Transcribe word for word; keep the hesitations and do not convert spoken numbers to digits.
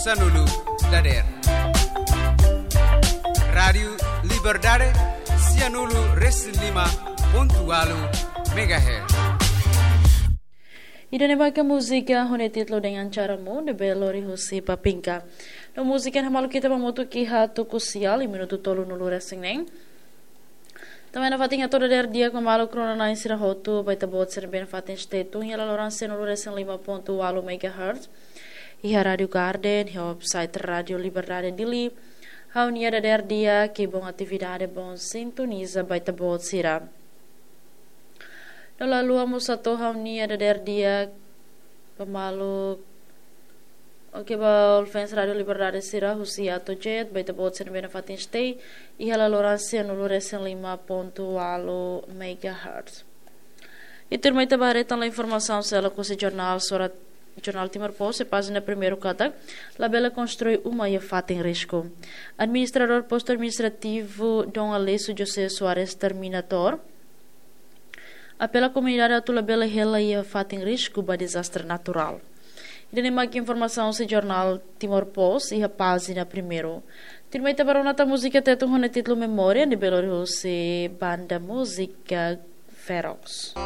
Sanulu dader. Rádiu Liberdade, sianulu resin lima pontu walu megahertz. Ida-ne'e mak múzika ho nia títulu Dengan Caramu, ne'ebé lori husi Papinka. No múzika ne'e hamaluk ita ba hamutuk iha tuku sia, iha minutu tolunulu resin neen. Tanba ne'e fatin hato'o dader di'ak ba maluk rona-na'in sira hotu, ba ita-boot sira ne'ebé nafatin stay tune iha laloran sianulu resin lima pontu walu megahertz. Iha Rádiu Garden, iha website Rádiu Liberdade Dili. Ha'u-nia dader di'ak, ke bom atividade, bom sintoniza ba ita-boot sira. No la haluha mós hato'o ha'u-nia dader di'ak ba maluk, oke, ba all fans Rádiu Liberdade sira husi Ato Jet, ba ita-boot sira ne'ebé nafatin stay iha laloran sianulu resin lima pontu walu megahertz. I tuirmai ita ba haree tan informasaun seluk husi jornál, surat jornál Timor Post, iha pájina primeiru katak, labele konstrui uma iha fatin risku. Administradór Postu Administrativu Dom Aleixo José Soares Terminator apela komunidade atu labele hela iha fatin risku ba dezastre naturál. Ida-ne'e mak informasaun husi jornál Timor Post iha pájina primeiru. Tuirmai ita ba rona tan múzika Tetun ho nia títulu Memória, ne'ebé lori husi banda múzika Feroz.